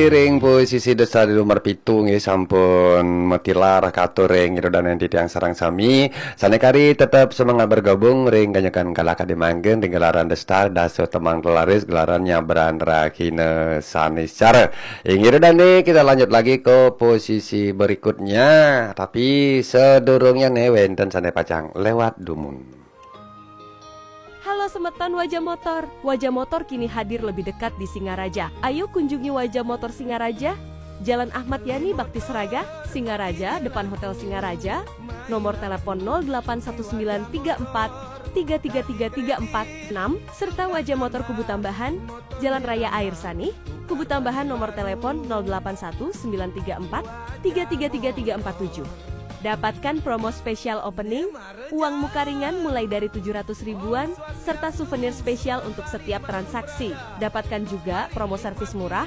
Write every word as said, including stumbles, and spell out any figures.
Ring posisi The Star di nomor pitu nggih sampun matilar katur ring ida dané titiang sareng sami. Sané kari tetep semangat bergabung ring ganyekan kalaka dimangkin ring gelaran The Star dasa tembang telaris gelaran nyabran rahina Saniscara. Inggih ida dané kita lanjut lagi ke posisi berikutnya. Tapi sedurungnya né wénten sané pacang lewat dumun. Halo semeton Wajah Motor. Wajah Motor kini hadir lebih dekat di Singaraja. Ayo kunjungi Wajah Motor Singaraja, Jalan Ahmad Yani Bakti Seraga, Singaraja, depan Hotel Singaraja. Nomor telepon nol delapan satu sembilan tiga empat tiga tiga tiga tiga empat enam serta Wajah Motor Kubu Tambahan, Jalan Raya Air Sanih, Kubu Tambahan nomor telepon nol delapan satu sembilan tiga empat tiga tiga tiga tiga empat tujuh. Dapatkan promo spesial opening, uang muka ringan mulai dari tujuh ratus ribuan, serta souvenir spesial untuk setiap transaksi. Dapatkan juga promo servis murah,